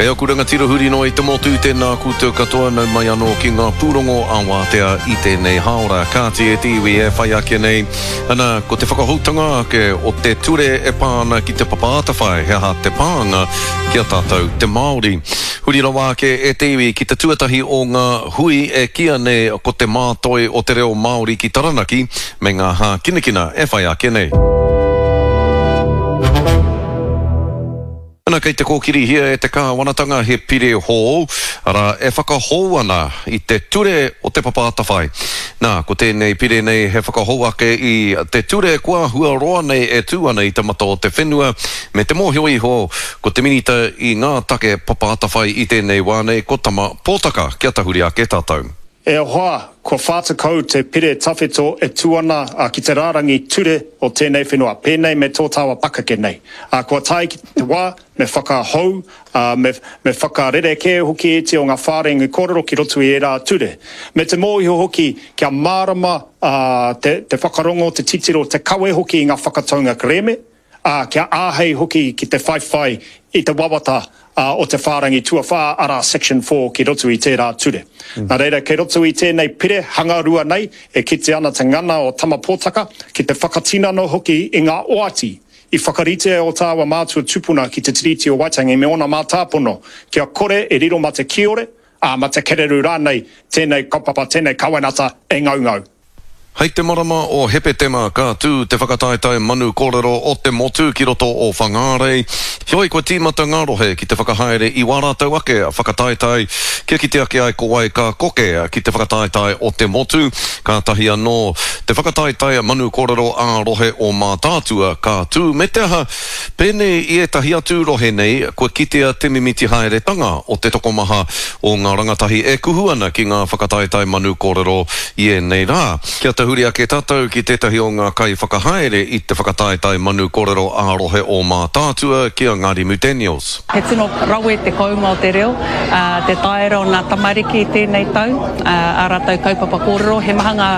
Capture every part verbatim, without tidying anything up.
E aku rangatira huri noa i te motu, tēnā koutou katoa, nau mai anō ki ngā pūrongo a Wātea i tēnei hāora. Kāti e te iwi e whai ake nei, ana, ko te whakahoutanga ake o te ture e pā ana ki te Papa Atawhai, he aha te pānga ki a tātou te Māori. Huri rawa ake e te iwi ki te tuatahi o ngā hui e kīia nei ko te mātoi o te reo Māori ki Taranaki me ngā hākinakina e whai ake nei. Ana kei te kōkirihia e te kāwanatanga he pire hou, arā, e whakahou ana i te ture o Te Papa Atawhai. Nā, ko tēnei pire nei he whakahou ake i te ture kua āhua roa nei e tū ana i te mata o te whenua, me te mōhio iho ko te Minita i ngā take Papa Atawhai i tēnei wā nei ko Tama Pōtaka. Kia tahuri ake tātou. E hoa, kua whā tekau te pire tawhito e tū ana ki te rārangi ture o tēnei whenua, pēnei me tō tāua pakeke nei. Kua tae ki te wā me whakahou, me, me whakarerekē hoki ētehi o ngā whārangi kōrero ki roto i ērā ture. Me te mōhio hoki kia mārama te, te whakarongo, te titiro, te kawe hoki i ngā whakataunga kerēme, ā, kia āhei hoki ki te whaiwhai i te wawata o te whārangi tuawhā, arā, section four, ki roto i tērā ture. Nā reira, kei roto i tēnei pire hangarua nei e kite ana te ngana o Tama Pōtaka ki te whakatinana hoki i ngā oati i whakaritea e ō tāua mātua tupuna ki te Tiriti o Waitangi me ōna mātāpono kia kore e riro mā te kiore, ā, mā te kereru rānei tēnei kaupapa, tēnei kawenata e ngaungau. Hei te marama o Hepetema ka tū te whakataetae manu kōrero o te motu ki roto o Whangārei. Heoi kua tīmata ngā rohe ki te whakahaere i wā rātou ake whakataetae kia kite ake ai ko wai ka koke ki te whakataetae o te motu. Kātahi anō te whakataetae manu kōrero ā-rohe o Mātaatua ka tū me te aha, pēnei i ētahi atu rohe nei kua kitea te mimiti haeretanga o te tokomaha o ngā rangatahi e kuhu ana ki ngā whakataetae manu kōrero i ēnei rā. Kia tahuri ake tātou ki tētahi o ngā kaiwhakahaere i te whakataetae manu kōrero ā-rohe o Mātaatua, ki a Ngārimu Daniels. He tino rawe te kounga o te reo, te taera o ngā tamariki i tēnei tau, ā rātou kaupapa kōrero. He maha ngā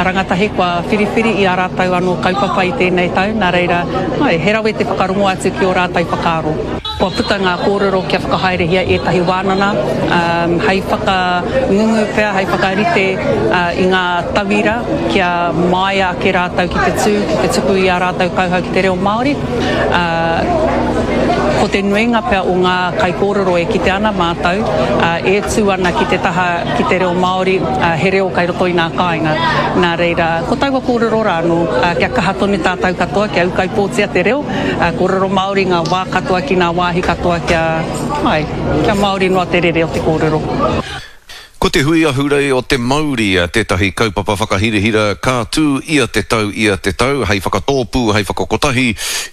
rangatahi kua whiriwhiri i ā rātou anō kaupapa i tēnei tau, nā reira, he rawe te whakarongo atu ki ō rātou whakaaro. Kua puta ngā kōrero kia whakahaerehia ētahi wānanga hei whakangungu pea, hei whakarite i ngā tauira kia māia ake rātou ki te tū, ki te tuku i ā rātou kauhau ki te reo Māori. Ko te nuinga pea o ngā kaikōrero e kite ana mātou e tū ana ki te taha ki te reo Māori, he reo kei roto i ngā kāinga. Nā reira, ko taua kōrero rā anō, kia kaha tonu tātou katoa, kia ūkaipōtia te reo, kōrero Māori ngā wā katoa ki ngā wāhi katoa kia, āe, kia Māori noa te rere o te kōrero. Ko te Hui Ahurei o Te Mauri tētahi kaupapa whakahirahira ka tū ia te tau ia te tau hei whakatōpū, hei whakakotahi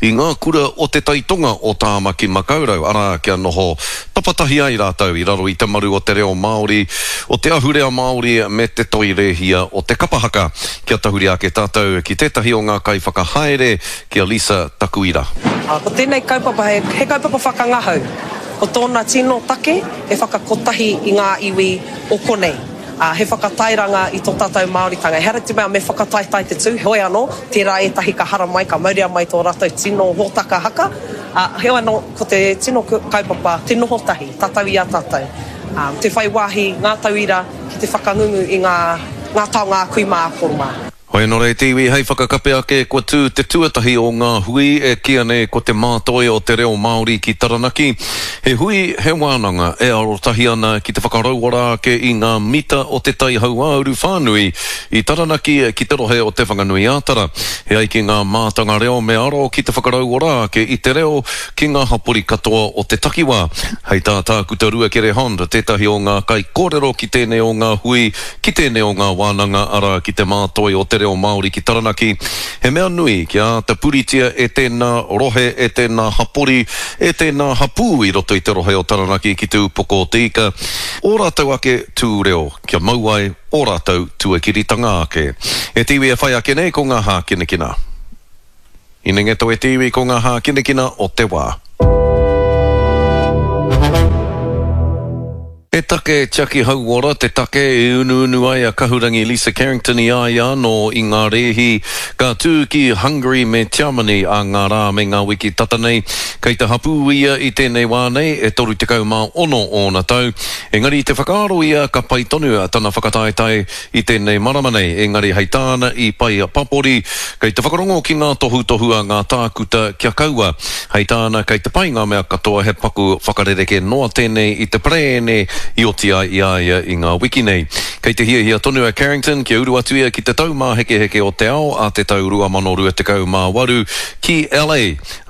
i ngā kura o te tai tonga o Tāmaki Makaurau, arā, kia noho tapatahi ai rātou i raro i te maru o te reo Māori, o te ahurea Māori me te toi rēhia o te kapa haka. Kia tahuri ake tātou ki tētahi o ngā kaiwhakahaere, ki a Lisa Takuira. Ko tēnei kaupapa he kaupapa whakangahau. Ko tōna tino take he whakakotahi i ngā iwi o konei, ā, he whakatairanga i tō tātou Māoritanga. Ehara te mea me whakataetae te tū, heoi anō, tērā ētahi ka haramai, ka mauria mai tō rātou tino hōtaka haka, ā, heoi anō, ko te tino kaupapa, te noho tahi, tātou i a tātou, ā, te whai wāhi ngā tauira ki te whakangungu i ngā, ngā taonga a kui mā, a koro mā. Hoi anō rei te iwi hei whakakape ake kua tū te tuatahi o ngā hui e kīia nei ko Te Mātoi o te Reo Māori ki Taranaki. He hui, he wānanga e arotahi ana ki te whakarauora ake i ngā mita o te Tai Hauāuru whānui i Taranaki ki te rohe o Te Whanganui-ā-Tara. E ai ki ngā mātanga reo me aro ki te whakarauora ake i te reo ki ngā hapori katoa o te takiwā. Hei tā Tākuta Ruakere Hond, tētahi o ngā kaikōrero ki tēnei o ngā hui, ki tēnei o ngā wānanga, arā, ki Te Mātoi o te Reo Māori ki Taranaki, he mea nui kia āta puritia e tēnā rohe, e tēnā hapori, e tēnā hapū i roto i te rohe o Taranaki ki Te Upoko o Te Ika, ō rātou ake tū reo, kia mau ai ō rātou tuakiritanga ake. E te iwi e whai ake nei ko ngā hākinakina. Inengeto e te iwi ko ngā hākinakina o te wā. E He take tiaki hauora te take e unuunu ai a Kahurangi Lisa Carrington i a ia anō i ngā rēhi ka tū ki Hungary me Tiamani ā ngā rā me ngā wiki tata nei. Kei te hapū ia i tēnei wā nei, e toru tekau mā ono ōna tau. Engari i te whakaaro ia ka pai tonu tana whakataetae i tēnei marama nei, engari hei tāna i pai papori, kei te whakarongo ki ngā tohutohu a ngā tākuta kia kaua. Hei tāna kei te pai ngā mea katoa he paku whakarerekē noa tēnei i te parēne i oti ai i a ia i ngā wiki nei. Kei te hiahia tonu a Carrington kia uru atu ia ki te Taumāhekeheke o te Ao a te tau rua mano rua tekau mā waru ki L A,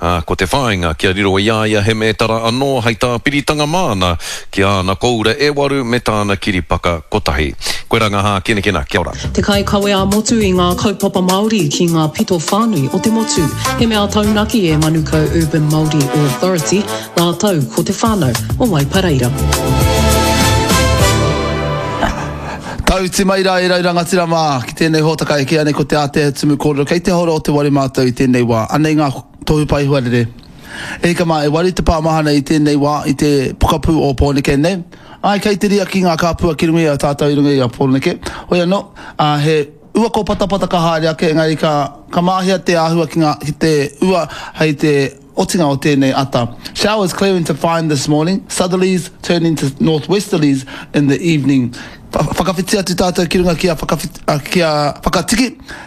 ā, ko te whāinga kia riro i a ia he mētara anō hei tāpiritanga māna ki āna kōura e waru me tāna kiripaka kotahi. Koirā ngā hākinakina. Kia ora. Te kaikawe ā-motu i ngā kaupapa Māori ki ngā pito whānui o te motu. He mea taunaki e Manukau Urban Māori Authority rātou ko te whānau o Waipareira. Tauti mai rā e rau rangatira mā ki tēnei hōtaka e kīia nei ko te Ātea Tumu Kōrero. Kei te horo o te ware mātou i tēnei wā. Anei ngā tohu pae huarere. E hika mā, e waru te pā mahana i tēnei wā i te pokapū o Pōneke nei. Āe, kei te riaki ngā kāpua ki runga i a tātou i runga i a Pōneke. Hoi anō, ā, he ua kōpatapata ka haere ake, engari ka, ka māhia te āhua ki ngā, ki te ua hei te otinga o tēnei ata. Showers clearing to fine this morning, southerlies turning to northwesterlies in the evening. Whakawhiti atu tātou ki runga ki a ki a Whakatiki,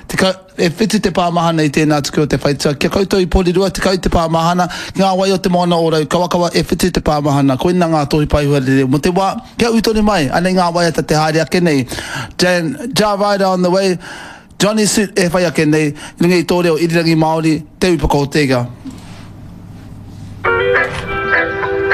tekau, e whitu te pā mahana i tēnā tuku o te whaitua. Ki a koutou i Porirua, tekau te pā mahana, ki ngā wai o te moana o Raukawakawa, e whitu te pā mahana. Koina ngā tohu paehuarere mō te wā, kia ū tonu mai, anei ngā waiata te haere ake nei. Jan, Jah Ryder on the way, Johnny Suit e whai ake nei, i runga i tō reo irirangi Māori, Te Upoko o Te Ika.